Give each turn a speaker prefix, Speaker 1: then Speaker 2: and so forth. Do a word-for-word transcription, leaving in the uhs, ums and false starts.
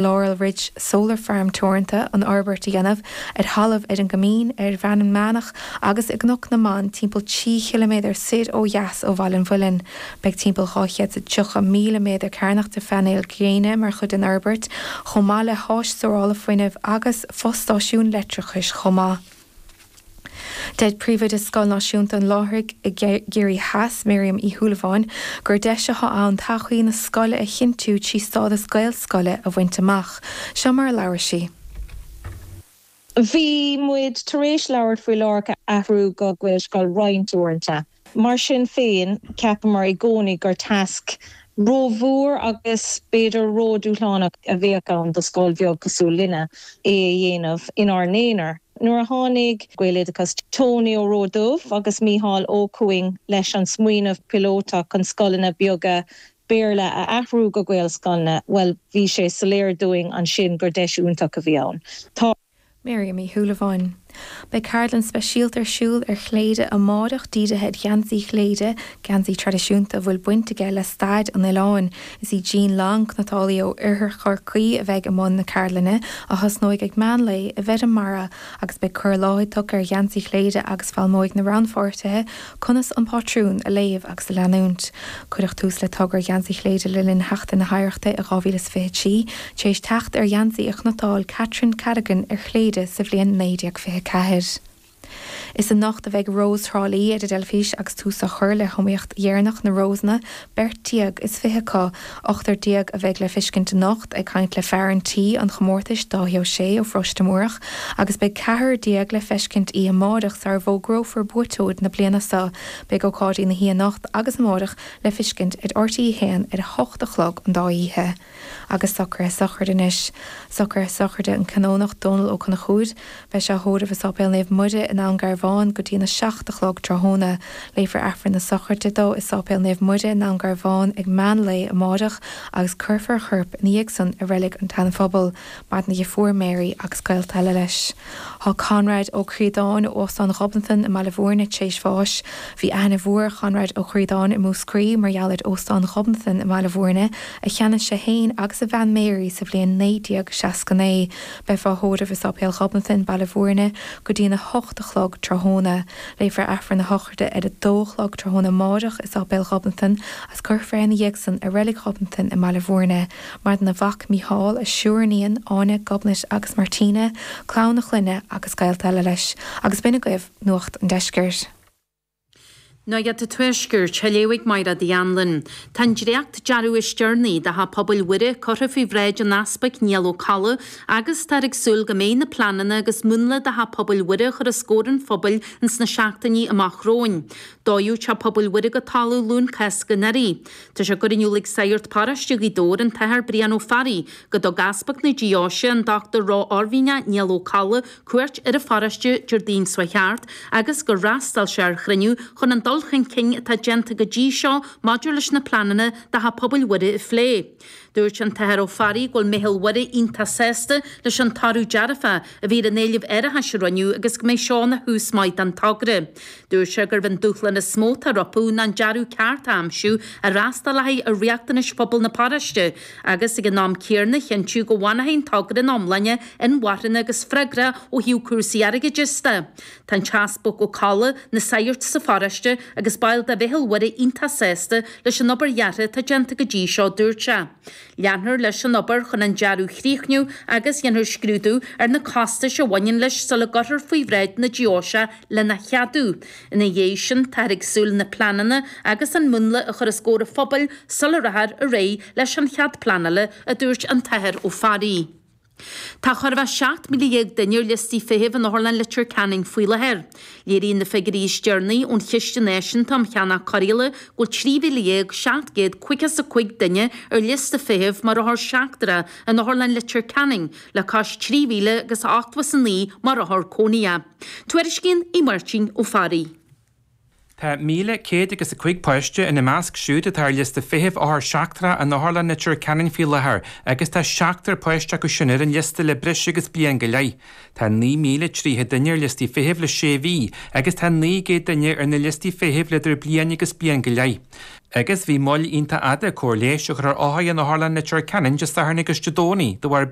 Speaker 1: Laurel Ridge Solar Farm Teoranta an fhorbairt a dhéanamh ar thalamh ar an gCoimín, ar Bhreann Meánach agus i gCnoc na mBan timpeall trí chiliméadar soir ó dheas ó Bhaile an Mhuilinn. Beidh timpeall dhá chéad is tríocha míle méadar cearnach de phainéil ghréine mar chuid den fhorbairt, chomh maith le háis stórála fuinnimh agus fostáisiún leictreachais chomh maith. Deir Príomhoide Scoil Náisiúnta an Láithrigh i gCiarraí Theas, Miriam Uí Shúilleabháin, gur deis atá ann todhchaí na scoile a chinntiú trí stádas Gaelscoile a bhaint amach. Seo mar a labhair sí.
Speaker 2: Bhí muid tar éis labhairt faoi Lárach a athrú go Gaelscoil roinnt uaireanta. Mar sin féin, cheapamar i gcónaí gur tasc rómhór agus b'fhéidir ródhúshlánach a bheadh ann do scoil bheag cosúil linne é a dhéanamh inár n-aonar. Nuair a tháinig Gaeloideachas Tony Ó Ródubh agus Mícheál Ó Cuaing leis an smaoineamh píolótach chun scoileanna beaga Béarla a athrú go Gaelscoileanna, bhuel bhí sé soiléir dúinn ansin gur deis iontach a bhí ann. Tá.
Speaker 1: Miriam Uí Shúilleabháin. Beidh ceardlann speisialta ar siúl ar Chléire amárach dírithe ar gheansaí Chléire, geansaí traidisiúnta a bhfuil baint aige le stair an oileáin. Is í Jean Long, cniotálaí ó Oirthear Chorcaí a bheidh i mbun na ceardlainne, a thosnóidh ag meán lae i bhFeirm Mara agus beidh cur i láthair tugtha ar gheansaí Chléire agus foghlaimeoidh na rannpháirtithe conas an pátrún a léamh agus a leanúint. Cuireadh tús le togra Gheansaí Chléire le linn Sheachtain na hOidhreachta i dhá mhíle is fiche a trí, tar éis teacht ar gheansaí a chniotáil Catherine Cadogan ar Chléire sa bhliain naoi déag fiche a ceathair. Is anocht a bheidh Rós Thrá Lí ar an dteilifís agus tús á chur le hiomaíocht dheireanach na Rósanna, beirt déag is fiche acu, ochtar déag a bheidh le feiscint anocht, ag caint le fear an tí an chomórtais, Dáithí Ó Sé ó Pharóiste Múrach, agus beidh ceathrar déag le feiscint oíche amárach sara bhfógrófar buaiteoir na bliana seo. Beidh ócáidí na hoíche anocht agus amárach le feiscint ar R T É a haon ar a hocht a chlog an dá oíche. Agus socruithe sochraide anois. Socruithe sochraide an Canónach Dónal Ó Conchúir. Beidh sé á thórramh i Sáipéal Naomh Muire i nDún Garbhán go dtí'n a seacht a chlog tráthnóna. Léifear Aifreann na sochraide dó i Sáipéal Naomh Muire i nDún Garbhán ag meán lae amárach agus cuirfear a chorp ina dhiaidh san i Reilig an tSeana-Phobail. Maireann a dheirfiúr Mary agus gaolta eile leis. Tá Conrad Ó Críodáin ó Óstán Ghobnatan i mBaile Bhúirne tar éis bháis. Bhí aithne mhór ar Chonrad Ó Críodáin i Múscraí mar gheall ar Óstán Ghobnatan i mBaile Bhúirne a cheannaigh sé féin agus a bhean Mary sa bhliain naoi déag seasca naoi. Beifear á thórramh i Sáipéal Ghobnatan, Baile Bhúirne, go dtí'n a hocht a chlog tráthnóna. Léifear Aifreann na sochraide ar a dó a chlog tráthnóna amáireach i Sáipéal Ghobnatan agus cuirfear é ina dhiaidh san i Reilig Ghobnatan i mBaile Bhúirne. Maireann a mhac Mícheál, a thriúr iníon, Áine, Gobnait agus Martina, clann a chlainne agus gaolta eile leis. Agus b'in agaibh Nuacht an Deiscirt.
Speaker 3: Nuacht an Tuaiscirt, á léamh ag Mairéad Uí Anluain. Tá an dréacht-dearadh is deireanaí do Theach Pobail Mhuire curtha faoi bhráid an Easpaig Niall Ó Colla agus táthar ag súil go mbeidh na pleananna agus múnla do Theach Pobail Mhuire a chur os comhair an phobail ins na seachtainí amach romhainn. Dódh Teach Pobail Mhuire go talamh Luan Cásca anuraidh. Tá sé curtha in iúl ag Sagart Paróiste Ghaoth Dobhair, an tAthair Brian Ó Fearraigh, go dtug Easpag na Deoise, an Dochtúir Ró-Oirmhinneach Niall Ó Colla, cuairt ar an pharóiste Déardaoin seo thart agus gur fhreastail sé ar chruinniú chun an dul chun cinn atá déanta go dtí seo maidir leis na pleananna do Theach Pobail Mhuire a phlé. Dúirt an tAthair Ó Fearraigh go bhfuil Meitheal Mhuire iontach sásta leis an toradh dearfach a bhí ar an éileamh árachais a rinneadh agus go mbeidh seo ina thús maith don togra. Dúirt sé gurb an dúshlán is mó atá rompu ná an dearadh ceart a aimsiú a fhreastalóidh ar riachtanais phobal na paróiste agus ag an am céanna a chinntiú go bhfanfaidh an togra ina iomláine inmharthana agus freagrach ó thaobh cúrsaí airgeadais de. Tá an tEaspag Ó Colla, na sagairt sa pharóiste agus baill de Mheitheal Mhuire iontach sásta leis an obair dheartha atá déanta go dtí seo, dúirt sé. Leanfar leis an obair chun an dearadh a chríochnú agus dhéanfar scrúdú ar na costais a bhaineann leis sula gcuirfear faoi bhráid na deoise lena cheadú. Ina dhiaidh sin, táthar ag súil na pleananna agus an múnla a chur os comhair an phobail sula rachfar ar aghaidh leis an chead pleanála, a dúirt an tAthair Ó Fearraigh. Tá chóir a bheith seacht míle dhéag duine ar liostaí feithimh in Otharlann Leitir Ceanainn faoi láthair. Léiríonn na figiúirí is deireanaí ón Chiste Náisiúnta um Cheannach Cóireála go bhfuil trí mhíle dhéag seacht gcéad caoga is a cúig duine ar liosta feithimh mar othar seachtrach in Otharlann Leitir Ceanainn, le cois trí mhíle agus ochtó is a naoi mar othar cónaithe. Tuairiscíonn Aodh Máirtín Ó Fearraigh.
Speaker 4: Tá míle céad agus a cúig páiste ina measc siúd atá ar liosta feithimh othar seachtrach in Otharlann Leitir Ceanainn faoi láthair agus tá seachtar páiste acu sin ar an liosta le breis agus bliain go leith. Tá naoi míle tríocha duine ar liostaí feithimh le sé mhí agus tá naoi gcéad duine ar na liostaí feithimh le idir bliain agus bliain go leith. Agus bhí moill iontach fhada cóir leighis a chur ar othair in Otharlann Leitir Ceanainn Dé Sathairn agus Dé Domhnaigh de bharr